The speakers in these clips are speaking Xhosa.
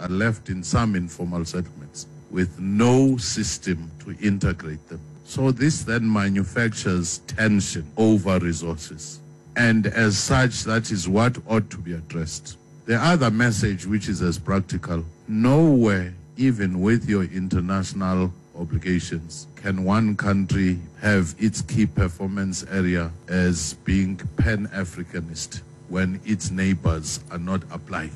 are left in some informal settlements with no system to integrate them. So this then manufactures tension over resources. And as such, that is what ought to be addressed. The other message, which is as practical, nowhere, even with your international obligations, can one country have its key performance area as being pan-Africanist when its neighbors are not applying.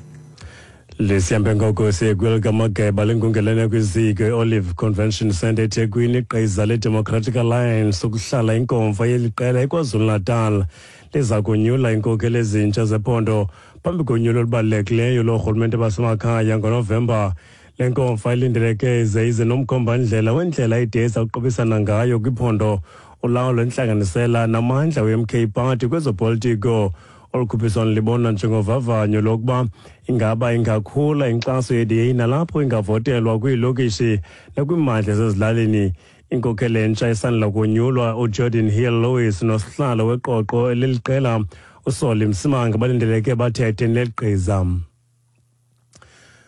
Lesihambe ngoko siye kwelikamageba lenkungelene kwiziko i-Olive Convention Centre eThekwini. Igqiza le-Democratic Alliance ukuhlala inkomfa yeli qela eKwaZulu-Natal liza kunyula iinkokheli ezintsha zephondo phambi konyulo olubalulekileyo loorhulumente basemakhaya ngoNovemba. Le nkomfa ilindeleke ize ize nomkhombandlela wendlela ide iza kuqubisana ngayo kwiphondo, ulawulo, intlanganisela namandla we-MK Party kwezopolitiko. Olu khuphiswano libonwa njengovavanyo lokuba ingaba ingakhula inkxaso ye-DA nalapho ingavotelwa kwiilokishi nakwimmandla esezilalini. Inkokheli entsha esandula konyulwa uGeordin Hill Lewis nosihlalo weqoqo leliqela uSolly Msimanga balindeleke bathethe neligqiza.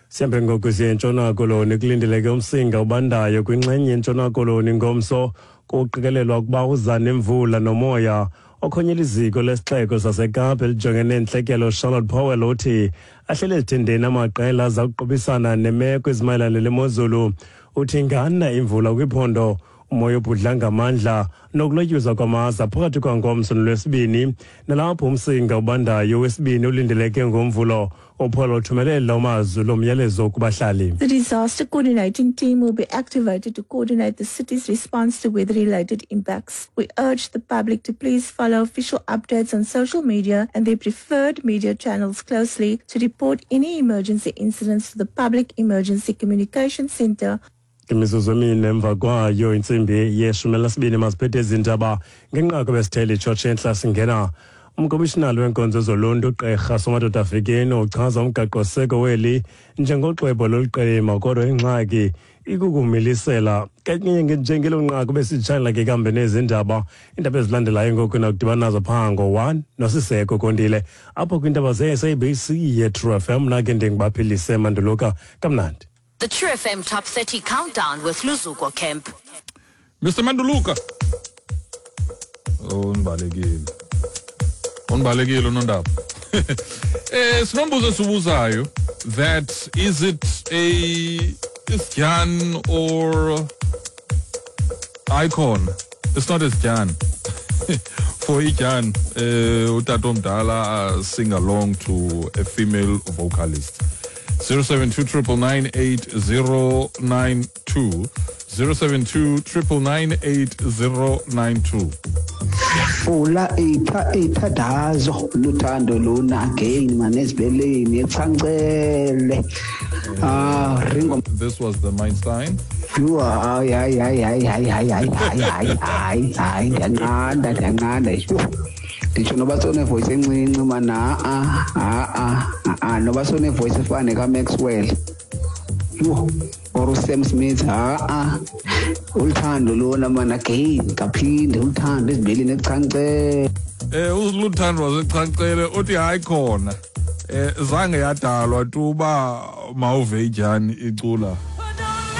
Sihambe ngoku siye eNtshona Koloni. Kulindeleke umsinga ubandayo kwinxenye yeNtshona Koloni ngomso. Kuqikelelwa ukuba uza nemvula nomoya. Okhonyela iziko lesixeko saseKapa elijongene neentlekelo, Charlotte Powell, uthi ahlele ezithendeni amaqela aza kuqubisana nemeko ezimayelana nemozulu. Uthi ingana imvula kwiphondo, umoya obhudla ngamandla nokulotyuzwa kwamaza phakathi kwangomso nolwesibini, nalapho umsinga ubandayo wesibini ulindeleke ngoMvulo. UPaul uthumelela umazwi lo myalezo kubahlali. The disaster coordinating team will be activated to coordinate the city's response to weather-related impacts. We urge the public to please follow official updates on social media and their preferred media channels closely to report any emergency incidents to the Public Emergency Communication Center. Imizuzu emine emva kwayo intsimbi ye-12, maziphethe ezindaba ngenqaku besithele itshotshe entla. Singena umkomishinali weenkonzo zoluntu, uGqirha Somadoda Fikeni, uchaza umgaqoseko weli njengoxwebhu loluqilima, kodwa ingxaki ikukumilisela kanye njengelo nqaku besitshayela ke kambe nezindaba. Iindaba ezilandelayo ngoku nakudibana nazo phaa ngo-1 noSiseko Kondile apho kwiindaba ze-SABC ye-True FM. Nake ndingubaphilise Manduluka, kamnandi. The True FM Top 30 Countdown with Luzuko Kemp. Mr Manduluka. Oh, undibalekile. Undibalekile unondaba. Sinombuzo esibuzayo that is it a isjan or icon? It's not isjan. For ijan, utata omdala sing along to a female vocalist. 072 999 8092, 072 999 8092. Fula itha ithandazo luthando luna again manezibeleni echancele, ah, Ringo. This was the Einstein. Yho, hayi, hayi, hayi, hayi, hayi, hayi, hayi, hayi, hayi, hayi, hayi, ndiyanqanda, ndiyanqanda. Yho, nditsho noba sone-voice encinci mana, a a a noba sone-voice efana nekaMaxwell, yho, or uSam Smith, ha-a, uluthando lona mana again, kaphinde uluthando ezibeleni echancele. Uluthando wasechancele uthi hayi khona. Zange yadalwa tu uba mawuve idyani icula.